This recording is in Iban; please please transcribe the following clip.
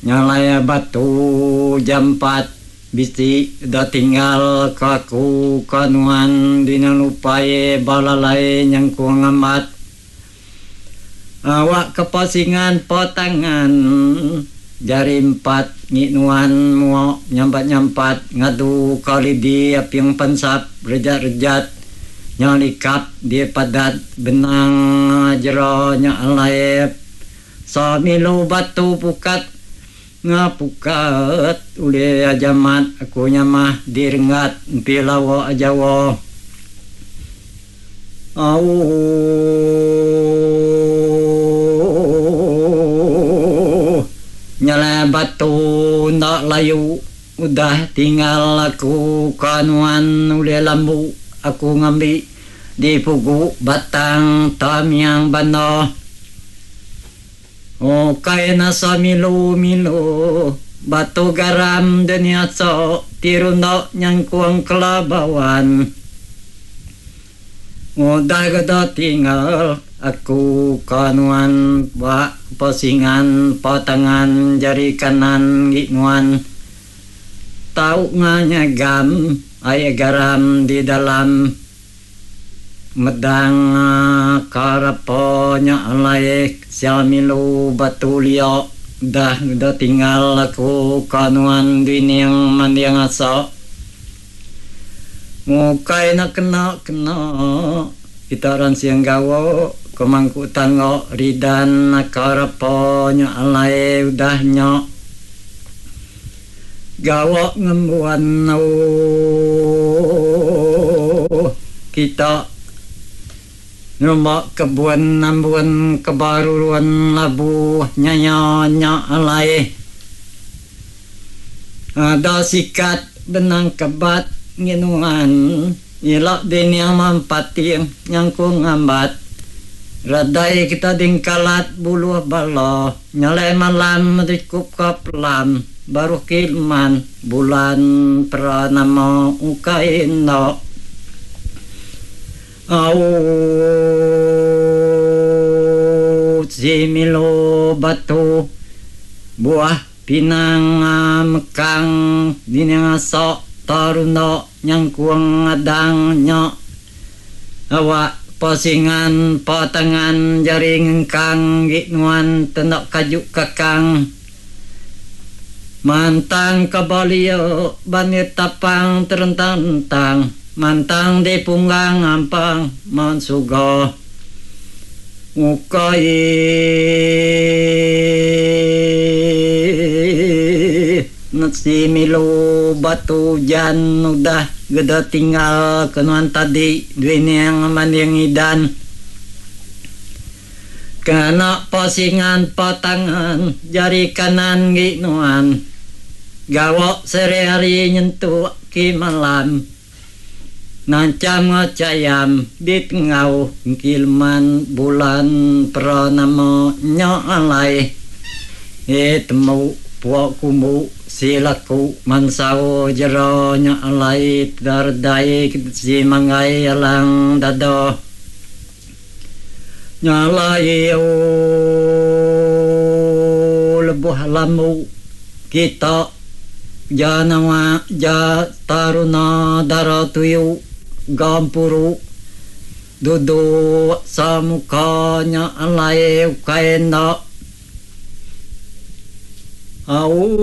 Nyalai batu jampat bisi da tinggal ke aku ke nuan dina lupai ba lalai nyengkung amat. Awak ke pasingan patangan jari empat ngi nuan muok nyampat-nyampat ngadu ka lidi aping pansap rejat-rejat nya likap di padat benang jera nya alai sa milu batu pukat ngapukat ulih ajamat aku nyamah di renggat empi lawa jawa. Auh. Nyelai batu enda layu udah tinggal aku ka nuan ulih lambu aku ngambi di pugu batang tamiang banda. Ukai nasa milu milu batu garam dunia so ti runda nyangkung kelabawan. Udah geda tinggal aku ka nuan ba pesingan patangan jari kanan gi nuan. Tau nganyagam ai garam di dalam. Medang ka repa nya alai sia milu batu lia dah udah tinggal aku ka nuan dining manding asa. Mukai enda kena kena kita ransing gawa ke mangku tangga ridan ka repa nya alai udah nya. Gawa ngembuan ooh kita ngerumba kebun ambun ke barurun labu nyaya nya alai ada sikat benang kebat nginuan ila dining mampating nyangkung ngambat radai kita dingkalat buluh bala. Nyalai malam rikup ka pelam baruh kileman bulan peranama ukai enda au si milu batu buah pinang mekang dining asok tarunda nyangkung adang nya. Awak pasingan patangan jari ngengkang gi nuan tenda kaju kakang. Mantang ka balia banit tapang terentang-entang mantang di punggang ampang mansuga ukai Nesi milu batu ujan udah geda tinggal ke nuan tadi duining manding idan. Kena pasingan patangan jari kanan gi nuan gawa sehari-hari nyentuk ki malam. Nancham ngachayam di tengau engki leman bulan peranama nya alai. E temu pua kumbu si laku mansau jera nya alai teda redai si manggai alang dada. Nya alai ooh lebuh lambu kita ja nawa ja taruna dara tuyu gampuru duduk samuka nya alai ukai enda. Au.